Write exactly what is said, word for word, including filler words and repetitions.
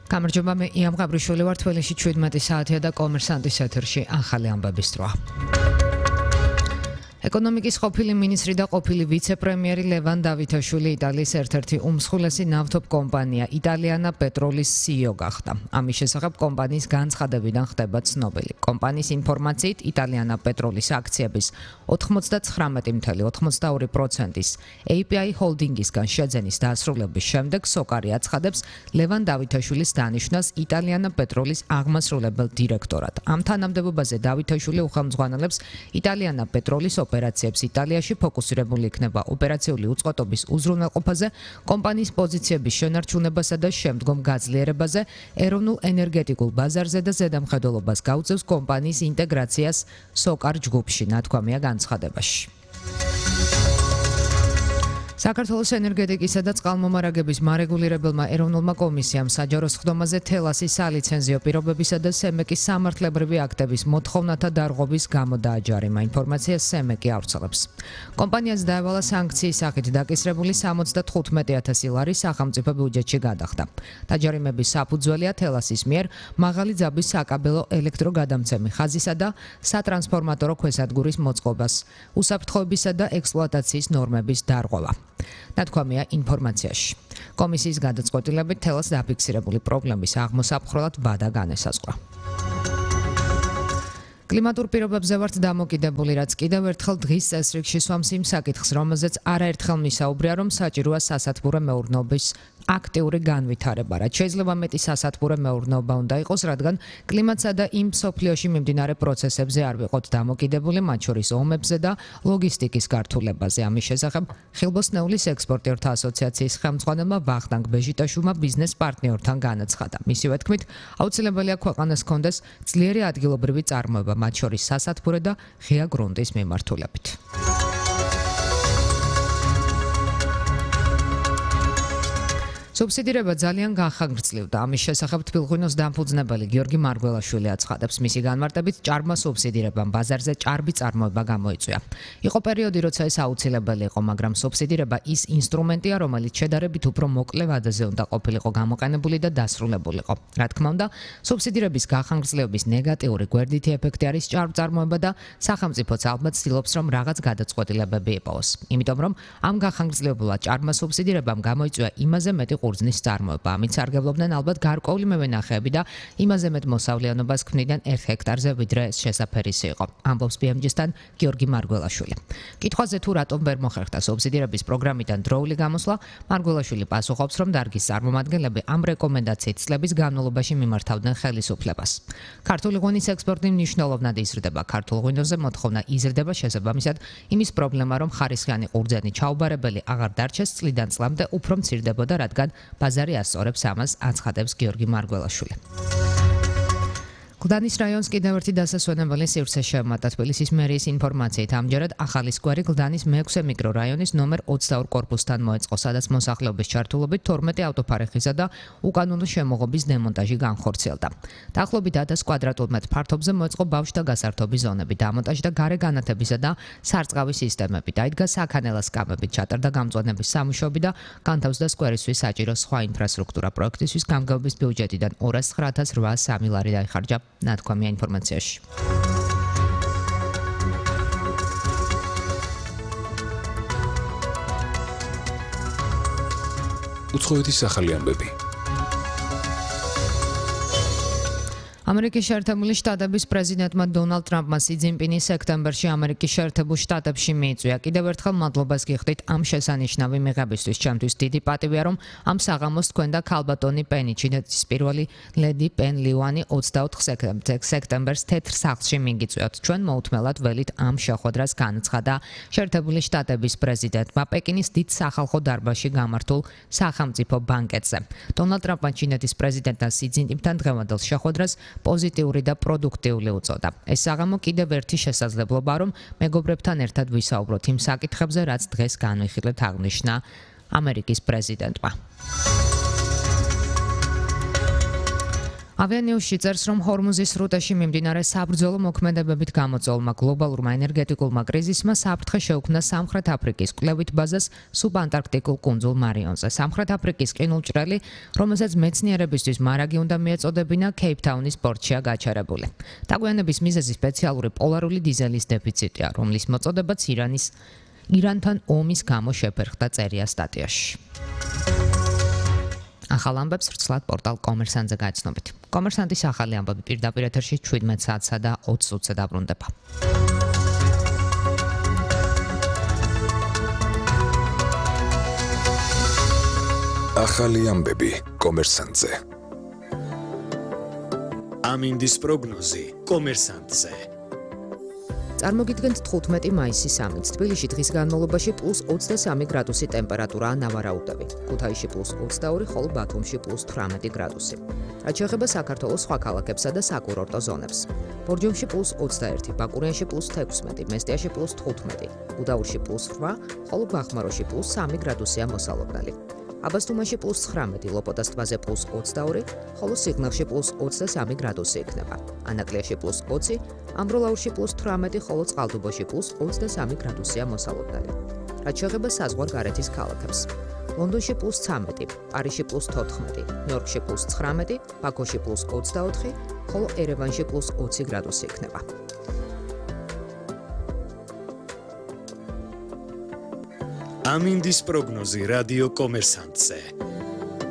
გამარჯობა, მე იამ გაბრიშვილი ვარ. თბილისში შვიდმეტი საათია და კომერსანტის ეთერში ახალი ამბების დროა. ეკონომიკის ყოფილი მინისტრი და ყოფილი ვიცე-პრემიერი ლევან დავითაშვილი იტალიის ერთ-ერთი უმსხვილესი ნავთობ კომპანია იტალიანა პეტროლის სი ი ო გახდა. ამის შესახებ კომპანიის განცხადებიდან ხდება ცნობილი. კომპანიის ინფორმაციით, იტალიანა პეტროლის აქციების ოთხმოცდათხრამეტი წუთი ოცდაორი პროცენტის ეი პი აი ჰოლდინგისგან შეძენის დასრულების შემდეგ სოკარი აცხადებს ლევან დავითაშვილის დანიშვნას იტალიანა პეტროლის აღმასრულებელ დირექტორად. ამ თანამდებობაზე დავითაშვილი უხელმძღვანელებს იტალიანა პეტროლის ოპერაციებს იტალიაში, ფოკუსირებული იქნება ოპერაციული უწყοτობის უზრუნველყოფაზე, კომპანიის პოზიციების შენარჩუნებასა და შემდგომ გაძლიერებაზე, ეროვნულ ენერგეტიკულ ბაზარზე და ზედამხედველობას გაუწევს კომპანიის ინტეგრაციას სოკარ ჯგუფში, ნათქვამია განცხადებაში. საქართველოს ენერგეტიკისა და წყალმომარაგების მარეგულირებელმა ეროვნულმა კომისიამ საჯარო სხდომაზე თელასის სალიცენზიო პირობებისა და სემეკის სამართლებრივი აქტების მოთხოვნათა დარღვევის გამო დააჯარიმა. ინფორმაციას სემეკი ავრცელებს. კომპანიას დაევალა სანქციის სახით დაკისრებული სამოცდათხუთმეტი ათასი ლარი სახელმწიფო ბიუჯეტში გადახდა. დაჯარიმების საფუძველია თელასის მიერ მაღალი ძაბვის საკაბელო ელექტროგადამცემი ხაზისა და სატრანსფორმატორო ქვესადგურის მოწყობას, უსაფრთხოებისა და ექსპლუატაციის ნორმების დარღვევა. ნათქვამია ინფორმაციაში. კომისიის გადაწყვეტილებით თელას დაფიქსირებული პრობლემის აღმოსაფხრელად ვადა განესაზღვრა. კლიმატურ პირობებზე ვართ დამოკიდებული, რაც კიდევ ერთხელ დღის წესრიგში სვამს იმ საკითხს, რომელზეც არაერთხელ მისაუბრია, რომ საჭიროა სასათბურე მეურნეობის აქტიური განვითარება, რაც შეიძლება მეტი სასათბურე მეურნეობა უნდა იყოს, რადგან კლიმატსა და იმ მსოფლიოში მიმდინარე პროცესებზე არ ვიყოთ დამოკიდებული, მათ შორის ომებზე და ლოგისტიკის გართულებაზე. ამის შესახებ ხილბოსნეულის ექსპორტიორთა ასოციაციის ხელმძღვანელმა ვახტანგ ბეჟიტაშვილმა ბიზნეს პარტნიორთან განაცხადა. მისივე თქმით, აუცილებელია ქვეყანას ჰქონდეს ძლიერი ადგილობრივი წარმოება, მათ შორის სასათბურე და ღია გრუნტის მიმართულებით. სუბსიდირება ძალიან განხორციელდა. ამის შესახებ თბილღვინოს დამფუძნებელი გიორგი მარგველაშვილი აცხადებს, მისი განმარტებით ჭარბმა სუბსიდირებამ ბაზარზე ჭარბი წარმოება გამოიწვია. იყო პერიოდი, როცა ეს აუცილებელი იყო, მაგრამ სუბსიდირება ის ინსტრუმენტია, რომელიც შედარებით უფრო მოკლე ვადაზე უნდა ყოფილიყო გამოყენებული და დასრულებულიყო. რა თქმა უნდა, სუბსიდირების განხორციელების ნეგატიური გვერდითი ეფექტი არის ჭარბ წარმოება და სახელმწიფოც ალბათ ცდილობს, რომ რაღაც გადაწყვეტილებები იპოვოს. იმიტომ რომ ამ განხორციელებულად ჭარბმა სუბსიდირებამ გამოიწვია იმაზე მეტი ყურძნის წარმოება. ამით სარგებლობდნენ ალბათ გარკვეული მევენახეები და იმაზე მეტ მოსავლიანობას ქმნიდან ერთ ჰექტარზე, ვიდრე ეს შესაფერისი იყო. ამბობს ბი ემ ჯი-სთან გიორგი მარგველაშვილი. კითხვაზე თუ რატომ ვერ მოხერხდა სუბსიდირების პროგრამიდან დროული გამოსვლა, მარგველაშვილი პასუხობს, რომ დარგის წარმომადგენლები ამ რეკომენდაციით წლების განმავლობაში მიმართავდნენ ხელისუფლებას. ქართული ღვინის ექსპორტი მნიშვნელოვნად იზრდება. ქართულ ღვინოზე მოთხოვნა იზრდება შესაბამისად იმის პრობლემა, რომ ხარისხიანი ყურძენი ჩაუბარებელი აღარ დარჩეს, წლიდან წლამდე უფრო მცირდებოდა, რადგან ბაზარი ასწორებს ამას, აცხადებს გიორგი მარგველაშვილი. გლდანის რაიონს კიდევ ერთი დასასვენებელი სივრცე შემატა. თბილისის მერიის ინფორმაციით, ამჯერად ახალი სკვერი გლდანის მეექვსე მიკრორაიონის ნომერ ოცდაორ კორპუსთან მოეწყო, სადაც მოსახლეობის ჩართულობით თორმეტი ავტოფარეხისა და უკანონო შემოღობის დემონტაჟი განხორციელდა. დაახლოებით ათას კვადრატულ მეტრ ფართობზე მოეწყო ბავშვთა გასართობის ზონები, დამონტაჟდა გარე განათებისა და სარწყავი სისტემები, დაიდგა საქანელა სკამებით, ჩატარდა გამწვანების სამუშაოები და განთავსდა სკვერისთვის საჭირო სხვა ინფრასტრუქტურა. პროექტისთვის გამგეობის ბიუჯეტიდან ორას ცხრა ათას რვაას სამი ლარი დაიხარჯა. ნათქვამია ინფორმაციაში. უცხოეთის ახალი ამბები. ამერიკის შეერთებული შტატების პრეზიდენტმა დონალდ ტრამპმა სი ძინპინი სექტემბერში ამერიკის შეერთებულ შტატებში მიიწვია. კიდევ ერთხელ მადლობას გიხდით ამ შესანიშნავი მიღებისთვის. ჩემთვის დიდი პატივია, რომ ამ საღამოს თქვენ და ქალბატონი პენი, ჩინეთის პირველი ლედი პენ ლივანი ოცდაოთხ სექტემბერს თეთრ სახლში მიგიწვიოთ. ჩვენ მოუთმელად ველით ამ შეხვედრას განაცხადა შეერთებული შტატების პრეზიდენტმა პეკინის დიდ სახალხო დარბაზში გამართულ სახელმწიფო ბანკეტზე. დონალდ ტრამპმა ჩინეთის პრეზიდენტთან სი ძინპინთან დღევანდელ შეხვედრას პოზიტიური და პროდუქტიული უწოდა. ეს საღამო კიდევ ერთი შესაძლებლობა, რომ მეგობრებთან ერთად ვისაუბროთ იმ საკითხებზე, რაც დღეს განვიხილეთ, აღნიშნა ამერიკის პრეზიდენტმა. ავიანიუსში წერს, რომ ჰორმუზის სრუტეში მიმდინარე საბრძოლო მოქმედებებით გამოწვეულმა გლობალურმა ენერგეტიკულმა კრიზისმა საფრთხე შეუქმნა სამხრეთ აფრიკის კვლევით ბაზას სუბანტარქტიკულ კუნძულ მარიონზე. სამხრეთ აფრიკის ყინულჭრელი, რომელსაც მეცნიერებისთვის მარაგი უნდა მიეწოდებინა, კეიპტაუნის პორტშია გაჩერებული. დაგვიანების მიზეზი სპეციალური პოლარული დიზელის დეფიციტია, რომლის მოწოდებაც ირანის ირანთან ომის გამო შეფერხდა, წერია სტატიაში. ახალ ამბებს ვრცლად პორტალ კომერსანტზე გაიცნობით. კომერსანტის ახალი ამბები პირდაპირ ეთერში შვიდმეტ საათსა და ოცი წუთზე დაბრუნდება. ახალი ამბები კომერსანტზე. ამინდის პროგნოზი კომერსანტზე. წარმოგიდგენთ თხუთმეტი მაისის ამით. თბილისში დღის განმავლობაში პლუს ოცდასამი გრადუსი ტემპერატურაა ნავარაუდები. ქუთაისში პლუს ოცდაორი, ხოლო ბათუმში პლუს თვრამეტი გრადუსი. რაც შეეხება საქართველოს სხვა ქალაქებსა და საკურორტო ზონებს. ბორჯომში პლუს ოცდაერთი, ბაკურიანში პლუს თექვსმეტი, მესტიაში პლუს თხუთმეტი, უდაურში პლუს რვა, ხოლო ბახმაროში პლუს სამი გრადუსია მოსალოდნელი. აბასთუმანში პლუს ცხრამეტი, ლოპოტას ტბაზე პლუს ოცდაორი, ხოლო სიღნაღში პლუს ოცდასამი გრადუსი იქნება. ანაკლიაში პლუს ოცი, ამბროლაურში პლუს თვრამეტი, ხოლო წყალტუბოში პლუს ოცდასამი გრადუსია მოსალოდნელი. რაც შეეხება საზღვარგარეთის ქალაქებს. ლონდონში პლუს ცამეტი, პარიზში პლუს თოთხმეტი, ნიუ-იორკში პლუს ცხრამეტი, ბაქოში პლუს ოცდაოთხი, ხოლო ერევანში პლუს ოცი გრადუსი იქნება. ამინდის პროგნოზი რადიო კომერსანტზე.